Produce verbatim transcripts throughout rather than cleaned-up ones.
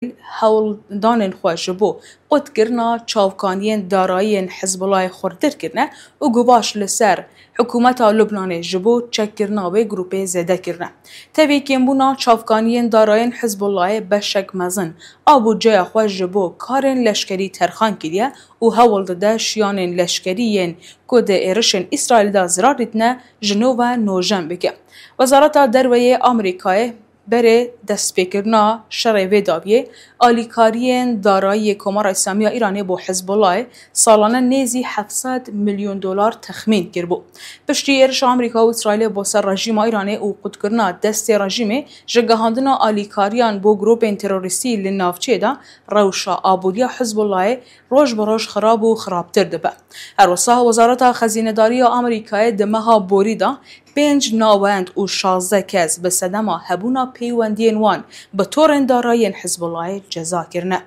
hewldanên xwe ji bo qutkirina çavkaniyên darayiyên Hizbulayê xurtir kirine û guvaş li ser hikûmeta Lubnanê ji bo çekkirina wê grûpê zêde kirine. Tevî kêmbûna çavkaniyên darayên Hizbulayê beşek mezin a budceya xwe ji bo karên leşkerî terxan kiriye û hewl dide şiyanên leşkerî yên ku di êrişên Îsraîlê de zirar dîtine ji nû ve nûjen bike. Wezareta Derve yê Amerîkayê berê destpêkirina şerê vê dawiyê, alîkariyên darayî yê Komara Îslamî ya Îranê bo Hizbulayê salane nêzî heft sed milyon dolar texmîn kiribû. Piştî êrişa Amerîka û Îsraîlê bo ser rejîma Îranê û qutkirina destê rejîmê ji gihandina alîkariyan bo grûpên terorîstî li navçeyê de, rewşa aboriya Hizbulayê roj bi roj xirab û xirabtir dibe. Her wisa Wezareta Xezînedarî ya Amerîkayê di meha borî de pênc navend û şazdeh kes bi sedema hebûna peywendiyên wan bi torên darayiyên Hizbulayê ceza kirine.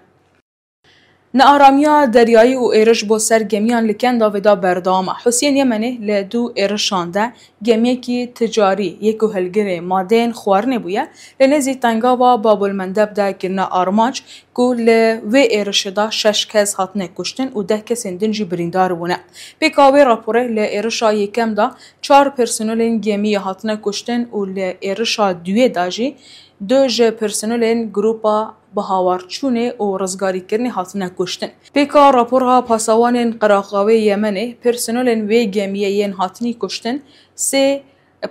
Nearamiya deryayî û êriş bo ser gemiyan li Kendavê de berdewam e. Husiyên Yemenê li du êrişan de gemiyekî ticarî yê ku hilgirê madeyên xwarinê bûye, li nêzî tengava Babul Mendeb de kirine armanc, ku li wê êrişê de şeş kes hatine kuştin û deh kesên din jî birîndar bûne. Pêka wê raporê, li êrişa yekem de çar personelên gemiyê hatine kuştin û li êrişa duyê de jî du ji personelên grûpa bihawarçûnê û rizgarîkirinê hatine kuştin. Pêka rapora pasawanên Qeraxavê Yemenê, personelên wê gemiyê yên hatinî kuştin sê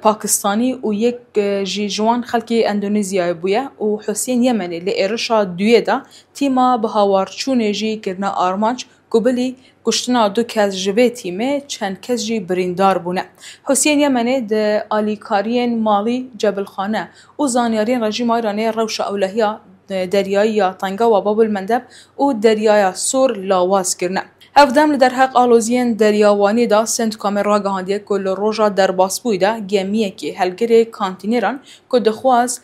Pakistanî û yek, e, jî ji wan xelkê Endonezyayê bûye û Husiyên Yemenê li êrişa duyê de tîma bihawarçûnê jî kirine armanc, ku bilî kuştina du kes ji vê tîmê, çend kes jî birîndar bûne. Husiyên Yemenê di alîkariyên malî, cebilxane û zanyariyên rejîma Îranê rewşa ewlehiya deryayî ya Tengawa Babul Mendeb û Deryaya Sor lawaz kirine. Hevdem li derheq aloziyên Derya Wanê de, Centcomê ragihandiye ku li roja derbasbûyî de gemiyekî helgirê kantîneran ku dixwaz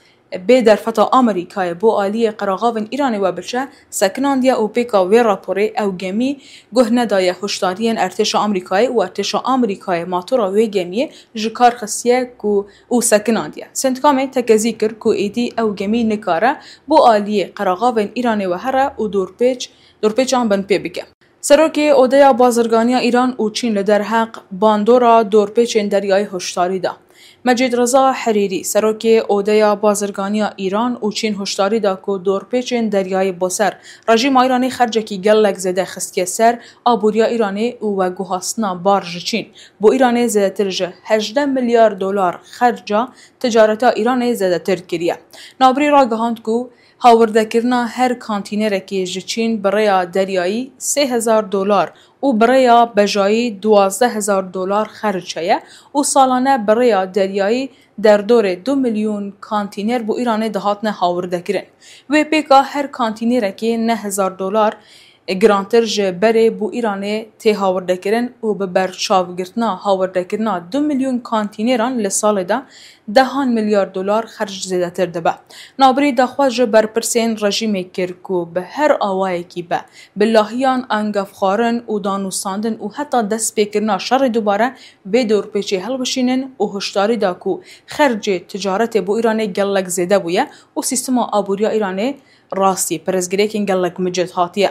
bê derfeta Amerîkayê bo aliyê qeraxavên Îranê we biçe, sekinandiye û pêka wê raporê ew gemî guh nedaye hişdariyên ertêşa Amerîkayê û ertêşa Amerîkayê matora wê gemiyê ji kar xistiye ku û sekinandiye. Centcomê tekezî kir ku êdî ew gemî nikare bo aliyê qeraxavên Îranê we here û dorpêç, dorpêçan binpê bike. Serokê Odeya Bazirganiya Îran û Çîn li derheq bandora dorpêçên deryayî hişdarî da. Mecîd Reza Herîrî, serokê Odeya Bazirganiya Îran û Çîn hişdarî da ku dorpêçên deryayî bo ser rejîma Îranê xercekî gelek zêde xistiye ser aboriya Îranê û veguhastina bar ji Çîn bo Îranê zêdetir ji hejdeh milyar dolar xerca ticareta Îranê zêdetir kiriye. Navbirî ragihand ku hawardekirina her kantînerekê ji Çîn bi rêya deryayî sê hezar dolar û bi rêya bejayî duwazdeh hezar dolar xerc heye û salane bi rêya deryayî derdorê du milyon kantîner bo Îranê dihatine hawirdekirin. Wê pêka her kantînerekê neh hezar dolar girantir ji berê bo Îranê tê hawirdekirin û bi berçavgirtina hawirdekirina du milyon kantîneran li salê de dehan milyar dolar xerc zêdetir dibe. Navbirî daxwaz ji berpirsên rejîmê kir ku bi her awayekî be, bi lahiyan angevxwarin û danûstandin û heta destpêkirina şerê dubare vê dorpêçê hilbişînin û hişdarî da ku xercê ticaretê bo Îranê gelek zêde bûye û sîstema aboriya Îranê rastî pirsgirêkên gelek micid hatiye.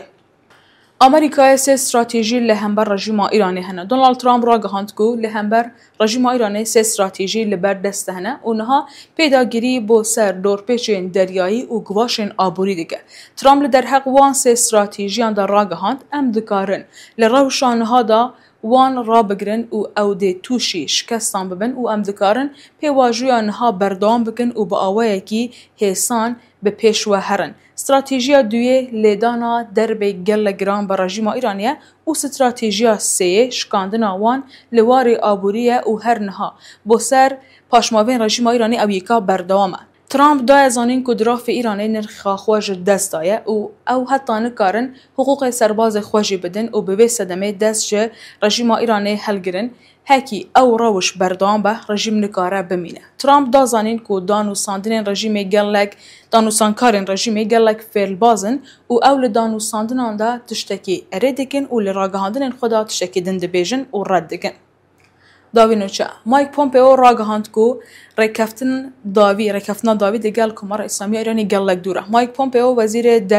Amerîkayê sê stratejî li hember rejîma Îranê hene. Donald Trump ragihand ku li hember rejîma Îranê sê stratejî li ber dest de hene û niha pêdagirî bo ser dorpêçên deryayî û guvaşên aborî dike. Trump li derheq wan sê stratejiyan de ragihand, em dikarin li rewşa niha de wan rabigirin û ew dê tûşî şikestan bibin û em dikarin pêvajoya niha berdewam bikin û bi awayekî hêsan bi pêş ve herin. Stratejiya duyê lêdana derbê gelek giran bi rejîma Îranê ye û stratejiya sêyê şikandina wan li warê aborî ye û her niha bo ser paşmavên rejîma Îranê ew yeka berdewam e. Trump daye zanîn ku dirafê Îranê nirxa xwe ji dest daye û ew heta nikarin hiqûqê serbazê xwe jî bidin û bi vê sedemê dest ji rejîma Îranê helgirin, hekî ew rewş berdewam be, rejîm nikare bimîne. Trump da zanîn ku danûstandinên rejîmê gelek, danûstankarên rejîmê gelek fêlbaz in û ew li danûstandinan de tiştekî erê dikin û li ragihandinên xwe de tiştekî din dibêjin û red dikin. Dawî nûçe, Mike Pompeo ragihand ku rêkeftin dawî, rêkeftina dawî digel Komara Îslamiya Îranê gelek dûr e. Mike Pompeo, wezîrê derve